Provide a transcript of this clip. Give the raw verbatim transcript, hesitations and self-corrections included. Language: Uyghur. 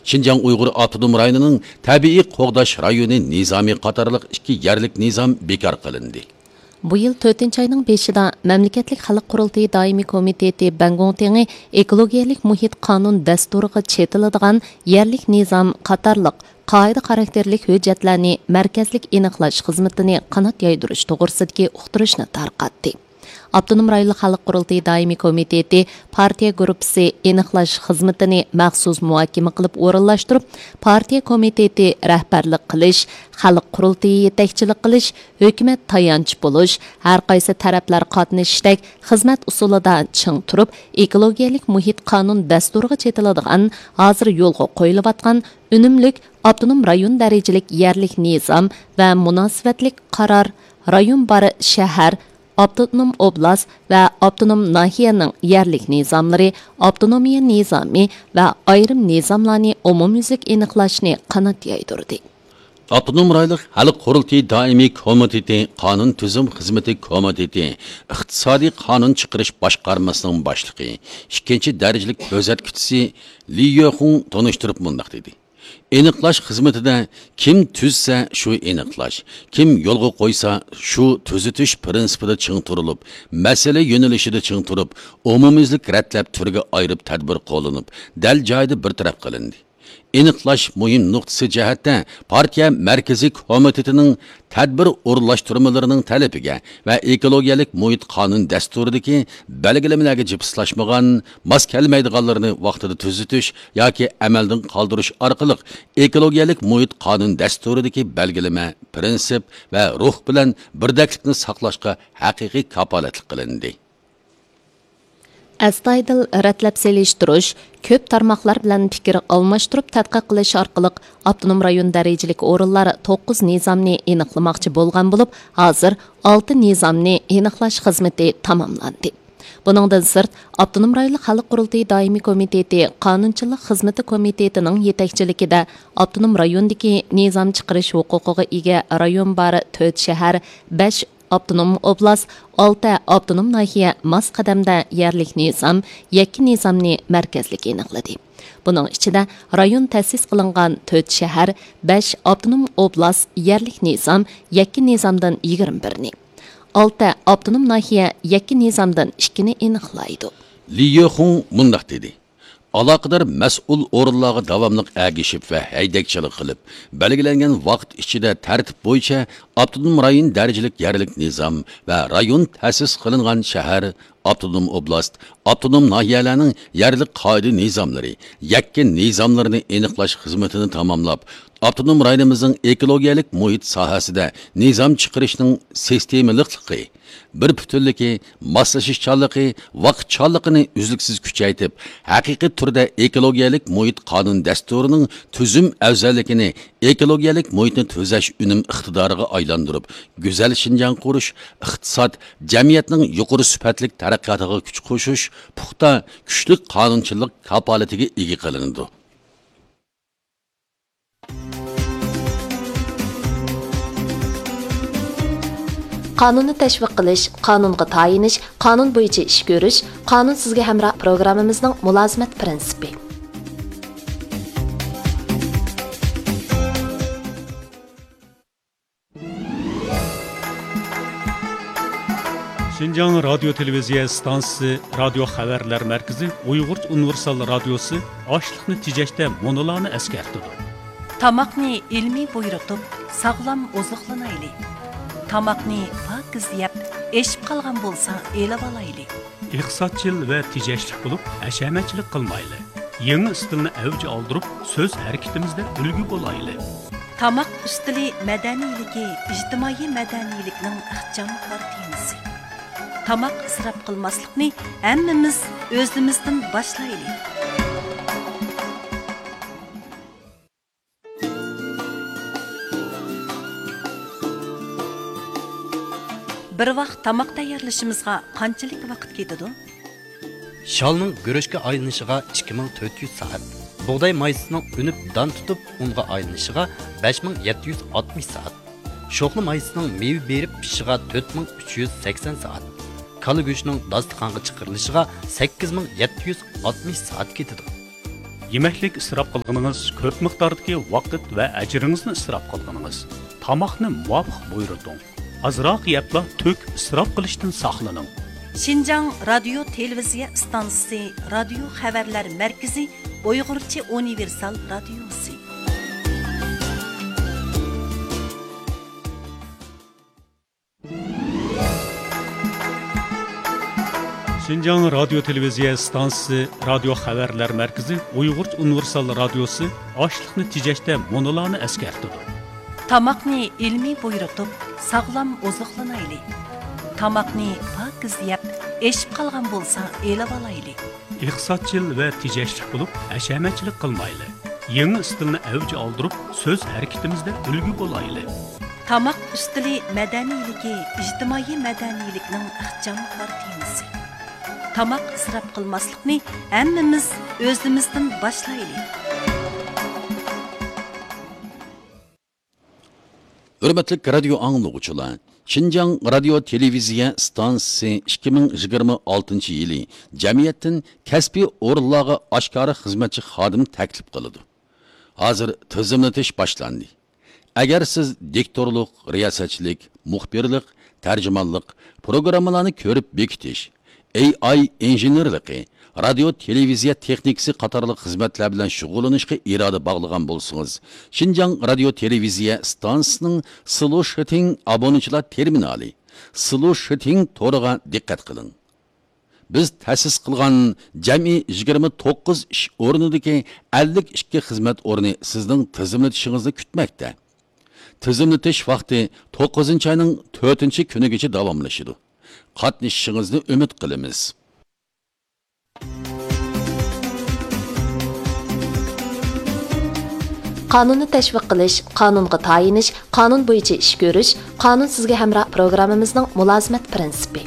شىنجاڭ ئۇيغۇر ئاپتونوم رايونىنىڭ تەبىئىي قوغداش رايونى نىزامى قاتارلىق ئىككى يەرلىك نىزام بىكار قىلىندى. بۇ يىل تۆتىنچى ئاينىڭ بەشىدە مەملىكەتلىك خەلق قۇرۇلتىيى دائىمىي كومىتېتى بەنگوڭتىڭى ئېكولوگىيەلىك مۇھىت قانۇن دەستۇرىغا چېتىلىدىغان يەرلىك نىزام قاتارلىق قائىدە خاراكتېرلىك ھۆججەتلەرنى مەركەزلىك ئېنىقلاش خىزمىتىنى قانات يايدۇرۇش توغرىسىدىكى ئۇقتۇرۇشنى تارقاتتى. ئاپتونوم رايونلۇق خەلق قۇرۇلتىيى دائىمىي كومىتېتى پارتىيە گۇرۇپپىسى ئېنىقلاش خىزمىتىنى مەخسۇس مۇھاكىمە قىلىپ ئورۇنلاشتۇرۇپ، پارتىيە كومىتېتى رەھبەرلىك قىلىش، خەلق قۇرۇلتىيى يېتەكچىلىك قىلىش، ھۆكۈمەت تايانچ بولۇش، ھەر قايسى تەرەپلەر قاتنىشىشتەك خىزمەت ئۇسۇلىدا چىڭ تۇرۇپ، ئېكولوگىيەلىك مۇھىت قانۇن دەستۇرىغا چېتىلىدىغان ھازىر يولغا قويۇلۇۋاتقان ئۈنۈملۈك ئاپتونوم رايون دەرىجىلىك يەرلىك نىزام ۋە مۇناسىۋەتلىك قارار، رايون بار شەھەر، ئاپتونوم ئوبلاست ۋە ئاپتونوم ناھىيەنىڭ يەرلىك نىزاملىرى، ئاپتونومىيە نىزامى ۋە ئايرىم نىزاملارنى ئومۇميۈزلۈك ئېنىقلاشنى قانات يايدۇردى. ئاپتونوم رايونلۇق خەلق قۇرۇلتىيى دائىمىي كومىتېتى قانۇن تۈزۈم خىزمىتى كومىتېتى ئىقتىسادىي قانۇن چىقىرىش باشقارمىسىنىڭ باشلىقى، ئىككىنچى دەرىجىلىك كۆزەتكۈچىسى لى يۆخۇڭ تونۇشتۇرۇپ مۇنداق دېدى: ئېنىقلاش خىزمىتىدە كىم تۈزسە، شۇ ئېنىقلاش، كىم يولغا قويسا، شۇ تۈزىتىش پىرىنسىپىدا چىڭ تۇرۇلۇپ، مەسىلە يۆنىلىشىدە چىڭ تۇرۇپ، ئومۇميۈزلۈك رەتلەپ تۈرگە ئايرىپ تەدبىر قوللىنىپ، دەل جايىدا بىر تەرەپ قىلىندى. ئېنىقلاش مۇھىم نۇقتىسى جەھەتتە پارتىيە مەركىزىي كومىتېتىنىڭ تەدبىر ئورۇنلاشتۇرمىلىرىنىڭ تەلىپىگە ۋە ئېكولوگىيەلىك مۇھىت قانۇن دەستۇرىدىكى بەلگىلىمىلەرگە جىپسلاشمىغان، ماس كەلمەيدىغانلىرىنى ۋاقتىدا تۈزىتىش ياكى ئەمەلدىن قالدۇرۇش ئارقىلىق ئېكولوگىيەلىك مۇھىت قانۇن دەستۇرىدىكى بەلگىلىمە، پىرىنسىپ ۋە روھ بىلەن بىردەكلىكنى ساقلاشقا ھەقىقىي كاپالەتلىك قىلىندى. ئەستايىدىل رەتلەپ سېلىشتۇرۇش، كۆپ تارماقلار بىلەن پىكىر ئالماشتۇرۇپ تەتقىق قىلىش ئارقىلىق ئاپتونوم رايون دەرىجىلىك ئورۇنلار توققۇز نىزامنى ئېنىقلىماقچى بولغان بولۇپ، ھازىر ئالتە نىزامنى ئېنىقلاش خىزمىتى تاماملاندى. بۇنىڭدىن سىرت، ئاپتونوم رايونلۇق خەلق قۇرۇلتىيى دائىمىي كومىتېتى قانۇنچىلىق خىزمىتى كومىتېتىنىڭ يېتەكچىلىكىدە ئاپتونوم رايوندىكى نىزام چىقىرىش ھوقۇقىغا ئىگە رايون بار تۆت شەھەر، بەش ئاپتونوم ئوبلاست، ئالتە ئاپتونوم ناھىيە ماس قەدەمدە يەرلىك نىزام، يەككە نىزامنى مەركەزلىك ئېنىقلىدى. بۇنىڭ ئىچىدە رايون تەسىس قىلىنغان تۆت شەھەر، بەش ئاپتونوم ئوبلاست يەرلىك نىزام، يەككە نىزامدىن يىگىرمە بىرنى، ئالتە ئاپتونوم ناھىيە يەككە نىزامدىن ئىككىنى ئېنىقلايدۇ. لى يۆخۇڭ مۇنداق دېدى: ئالاقىدار مەسئۇل ئورۇنلارغا داۋاملىق ئەگىشىپ ۋە ھەيدەكچىلىك قىلىپ، بەلگىلەنگەن ۋاقىت ئىچىدە تەرتىپ بويىچە ئاپتونوم رايون دەرىجىلىك يەرلىك نىزام ۋە رايون تەسىس قىلىنغان شەھەر، ئاپتونوم ئوبلاست، ئاپتونوم ناھىيەلەرنىڭ يەرلىك قائىدە نىزاملىرى، يەككە نىزاملىرىنى ئېنىقلاش خىزمىتىنى تاماملاپ، ئاپتونوم رايونىمىزنىڭ ئېكولوگىيەلىك مۇھىت ساھەسىدە نىزام چىقىرىشنىڭ سىستېمىلىقلىقى، بىر پۈتۈنلۈكى، ماسلىشىشچانلىقى، ۋاقىتچانلىقىنى ئۈزلۈكسىز كۈچەيتىپ، ھەقىقىي تۈردە ئېكولوگىيەلىك مۇھىت قانۇن دەستۇرىنىڭ تۈزۈم ئەۋزەللىكىنى ئېكولوگىيەلىك مۇھىتنى تۈزەش ئۈنۈم ئىقتىدارىغا ئايلاندۇرۇپ، گۈزەل شىنجاڭ قۇرۇش، ئىقتىساد، جەمئىيەتنىڭ يۇقىرى سۈپەتلىك تەرەققىياتىغا كۈچ قوشۇش، پۇختا، كۈچلۈك قانۇنچىلىق كاپالىتىگە ئىگە قىلىنىدۇ. قانۇننى تەشۋىق قىلىش، قانۇنغا تايىنىش، قانۇن بويىچە ئىش كۆرۈش، قانۇن سىزگە ھەمراھ پروگراممىمىزنىڭ مۇلازىمەت پىرىنسىپى. شىنجاڭ رادىيو تېلېۋىزىيە ئىستانسىسى رادىيو خەۋەرلەر مەركىزى ئۇيغۇرچە ئۇنىۋېرسال رادىيوسى ئاشلىقنى تېجەشتە مۇنۇلارنى ئەسكەرتىدۇ. تاماقنى ئىلمىي بۇيرۇتۇپ، ساغلام ئوزۇقلىنايلى. تاماقنى پاكىز يەپ، ئېشىپ قالغان بولسا ئېلىۋالايلى. ئىقتىسادچىل ۋە تېجەشلىك بولۇپ، ھەشەمەتچىلىك قىلمايلى. يېڭى ئىستىلنى ئەۋج ئالدۇرۇپ، سۆز ھەرىكىتىمىزدە ئۈلگە بولايلى. تاماق ئۈستىلى مەدەنىيلىكى، ئىجتىمائىي مەدەنىيلىكنىڭ ئىخچام كارتىنىسى. تاماق ئىسراپ قىلماسلىقنى ھەممىمىز ئۆزىمىزدىن باشلايلى. بىر ۋاق تاماق تەييارلىشىمىزغا قانچىلىك ۋاقىت كېتىدۇ؟ شالنىڭ گۈرۈچكە ئايلىنىشىغا ئىككى مىڭ تۆت يۈز سائەت، بۇغداي مايسىسىنىڭ ئۈنۈپ دان تۇتۇپ ئۇنغا ئايلىنىشىغا بەش مىڭ يەتتە يۈز ئاتمىش سائەت، شوخلا مايسىسىنىڭ مېۋە بېرىپ پىشىشىغا تۆت مىڭ ئۈچ يۈز سەكسەن سائەت، كالا گۆشىنىڭ داستىخانغا چىقىرىلىشىغا سەككىز مىڭ يەتتە يۈز ئاتمىش سائەت كېتىدۇ. يېمەكلىك ئىسراپ قىلغىنىڭىز، كۆپ مىقداردىكى ۋاقىت ۋە ئەجرىڭىزنى ئىسراپ قىلغىنىڭىز. تاماقنى مۇۋاپىق بۇيرۇتۇڭ. ئازراق يەپلا تۈك ئىسراپ قىلىشتىن ساقلىنىڭ. شىنجاڭ رادىيو تېلېۋىزىيە ئىستانسىسى رادىيو خەۋەرلەر مەركىزى ئۇيغۇرچە ئۇنىۋېرسال رادىيوسى. شىنجاڭ رادىيو تېلېۋىزىيە ئىستانسىسى رادىيو خەۋەرلەر مەركىزى ئۇيغۇرچە ئۇنىۋېرسال رادىيوسى ئاشلىقنى تېجەشتە مۇنۇلارنى ئەسكەرتىدۇ. تاماقنى ئىلمىي بۇيرۇتۇپ، ساغلام ئوزۇقلىنايلى. تاماقنى پاكىز يەپ، ئېشىپ قالغان بولسا ئېلىۋالايلى. ئىقتىسادچىل ۋە تېجەشلىك بولۇپ، ھەشەمەتچىلىك قىلمايلى. يېڭى ئىستىلنى ئەۋج ئالدۇرۇپ، سۆز ھەرىكىتىمىزدە ئۈلگە بولايلى. تاماق ئۈستىلى مەدەنىيلىكى ئىجتىمائىي مەدەنىيلىكنىڭ ئىخچام قارا تېمىسى. تاماق ئىسراپ قىلماسلىقنى ھەممىمىز ئۆزىمىزدىن باشلايلى. ھۆرمەتلىك رادىيو ئاڭلىغۇچىلار، شىنجاڭ رادىيو تېلېۋىزىيە ئىستانسىسى ئىككى مىڭ يىگىرمە ئالتىنچى يىلى جەمئىيەتتىن كەسپىي ئورۇنلارغا ئاشكارا خىزمەتچى خادىم تەكلىپ قىلىدۇ. ھازىر تىزىملىتىش باشلاندى. ئەگەر سىز دىكتورلۇق، رىياسەتچىلىك، مۇخبىرلىق، تەرجىمانلىق، پروگراممىلارنى كۆرۈپ بېكىتىش، ئېي ئاي ئىنژېنېرلىقى، رادىيو تېلېۋىزىيە تېخنىكىسى قاتارلىق خىزمەتلەر بىلەن شۇغۇللىنىشقا ئىرادە باغلىغان بولسىڭىز، شىنجاڭ رادىيو تېلېۋىزىيە ئىستانسىسىنىڭ سلوشىتىڭ ئابۇنىچىلار تېرمىنالى، سلوشىتىڭ تورىغا دىققەت قىلىڭ. بىز تەسىس قىلغان جەمئىي يىگىرمە توققۇز ئىش ئورنىدىكى ئەللىك ئىككى خىزمەت ئورنى سىزنىڭ تىزىملىتىشىڭىزنى كۈتمەكتە. تىزىملىتىش ۋاقتى توققۇزىنچى ئاينىڭ تۆتىنچى كۈنىگىچە داۋاملىشىدۇ. قاتنىشىشىڭىزنى ئۈمىد قىلىمىز. قانۇننى تەشۋىق قىلىش، قانۇنغا تايىنىش، قانۇن بويىچە ئىش كۆرۈش، قانۇن سىزگە ھەمراھ پروگراممىمىزنىڭ مۇلازىمەت پىرىنسىپى.